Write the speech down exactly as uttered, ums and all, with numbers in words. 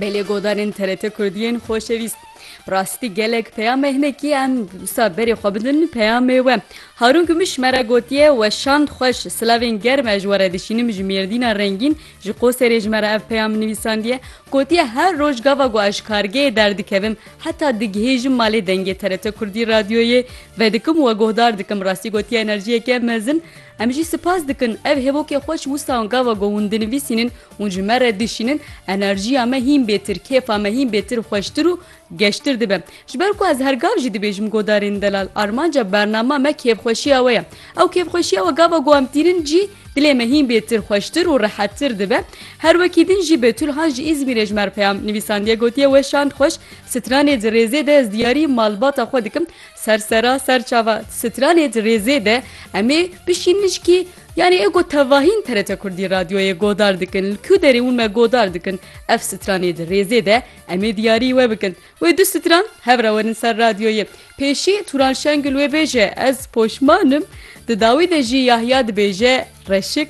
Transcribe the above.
Belê godarên T R T Kurdiyên xoşewîst. Rastî gelek peyam e, hinekî em wisa berê xwe bidin peyamê we. Harun Gümüş me re gotiye, weşand xweş, silavên germ ez ji we re dişînim, ji Mêrdîna rengîn, ji Qoserê ji me re ev peyam nivîsandiye. Gotiye, her roj gava ku ez ji kargehê derdikevim, heta digihêjim malê dengê T R T Kurdî Radyoyê vedikim û we guhdar dikim. Rastî gotiye, enerjiyeke mezin. Em jî spas dikin. Ev hêvokê xweş wisa gava ku hûn dinivîsînin, hûn ji me re dişînin, enerjiya me hîn bêtir, kêfa me hîn bêtir xweştir û geştir dibe. Ji ber ku ez her gav jî dibêjim godarên delal, armanca bernama me kêfxweşiya we ye. Ew kêfxweşiya we gava ku em tînin jî dilê me hîn bêtir xweştir û rehettir dibe. Her wekî din jî Betül Han ji Îzmîrê ji me re peyam nivîsandiye, gotiye, weşand xweş, stranê di rêzê de ez diyarî malbata xwe dikim. Ser sera, ser çava, stranê di rêzê de em ê bişînin jikî, yanî ê ku tevahîn T R T Kurdî Radyoyê godar dikin, li ku derê hûn me godar dikin, ev stranê di rêzê de em ê diyarî we bikin. Wê du stran hev re werin ser radyoyê. Pêşî Turan Şengül wê bêje, ez poşman im. Di dawî de jî Yahya dibêje, reşik